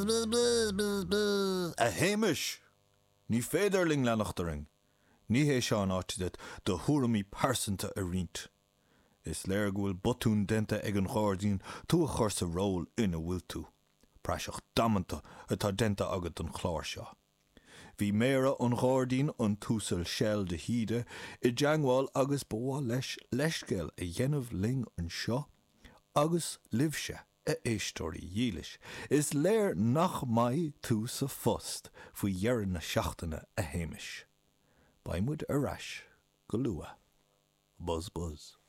Buzz buzz buzz buzz. A Shéamais! Ní féidir linn leanacht orainn. Ní hé seo an áit duit do thuairimí pearsanta a roinnt. Is léir go bhfuil botún déanta ag an Ghairdín tú a chur sa ról ina bhfuil tú. Praiseach damanta atá déanta agat den chlár seo. Bhí Méara an Ghairdín, an tUasal Shell de hÍde, i dteangmháil agus ba mhaith leis leithscéal a dhéanamh linn anseo agus libhse, a éisteoirí dhílis. Is léir nach mbeidh tú sa phost faoi dheireadh na seachtaine, a Shéamais. Beidh muid ar ais go luath. Buzz buzz.